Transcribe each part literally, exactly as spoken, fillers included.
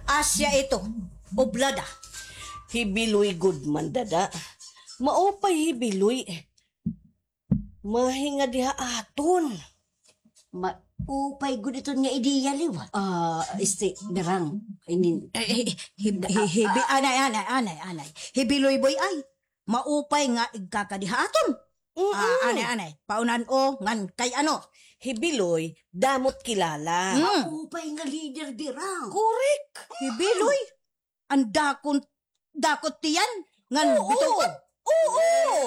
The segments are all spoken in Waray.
Asya ito, oblada. Hi Biloy gud man, dada. Maupay hi Biloy. Mahingad diha aton. Maupay gud iton nga ideya liwat. Ah, este, Berang. I mean, eh, eh, hi, hi, hi, hi, anay, anay, anay, anay. Hi Biloy boy ay. Maupay nga igkakadi ha aton. Mm-mm. Ah, anay, anay. Paunan o, ngan kay ano? Hi Biloy, damot kilala. Mm. Maupay nga leader, Berang. Correct. Hi Biloy, an dakon, dakot tiyan, ngan bitungkot. Oo.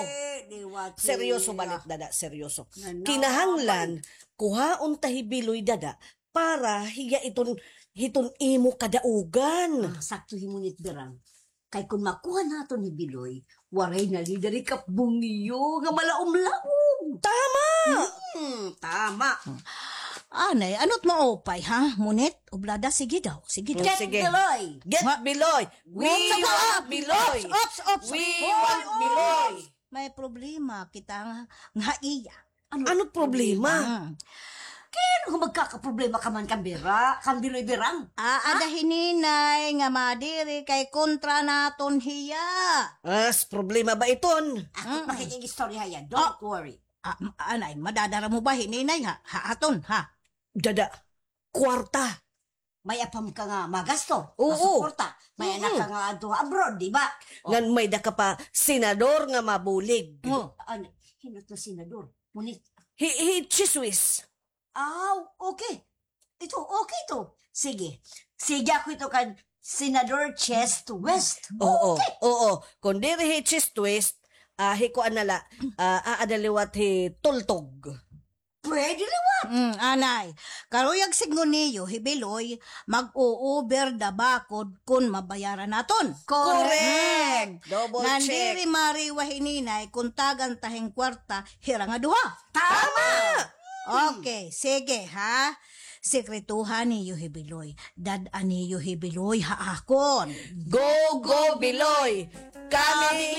Eh, liwat. Seryoso balit, dada, seryoso. Nga na. Kinahanglan, kuhaon ta hi Biloy, dada, para hiya iton, hiton imo kadaugan. Ah, sakto hi Munit, Berang. Kay kon makuha naton hi Biloy, waray na leader hi Kap Bungyo nga malaumlaom. Tama! Hmm, tama. Anay, ano't maupay, ha? Munit, oblada, sige daw, sige daw. Get Biloy! Get Biloy! We want Biloy! Ops, ops, ops. We want Biloy! May problema kita nga, nga iya. Ano problema? Hmm. Kay ano nga magkakaproblema ka man kan Bira, kan Biloy, Berang? Aada hi Ninay nga madiri kay kontra naton hiya. As, problema ba iton? Ako makikig-istorya hiya. Don't worry. Ah, anay, madadara mo ba hi Ninay ha? Ha aton, ha? Dada, kwarta. May-ada pa man ka nga magasto, oo, masuporta. May anak ka nga adto abroad, di ba? O. Ngan may-ada ka pa senador nga mabulig. O. Ano, hin-o it nga senador? Munit. Hi, hi Chis-Wis. Aw, okay. Ito, okay ito. Sige. Sige ako ito kan Senador Chis-Wis. Oo, okay. Oo. Kon diri hi Chis-Wis, ah, hi kuan na la, ah, aada liwat hi Tultog. Pwede liwat. Mm, anay. Karuyag sidngon niyo, hi Biloy, mag-o-over the bakod kon mabayaran naton. Correct. Mm. Double check. Ngan diri mariwa hi Ninay kon tagan ta hin kwarta hira nga duha. Tama! Okay, sige, ha? Sekretuhan niyo hi Biloy. Dad-an niyo hi Biloy ha akon. Go, go, Biloy! Kami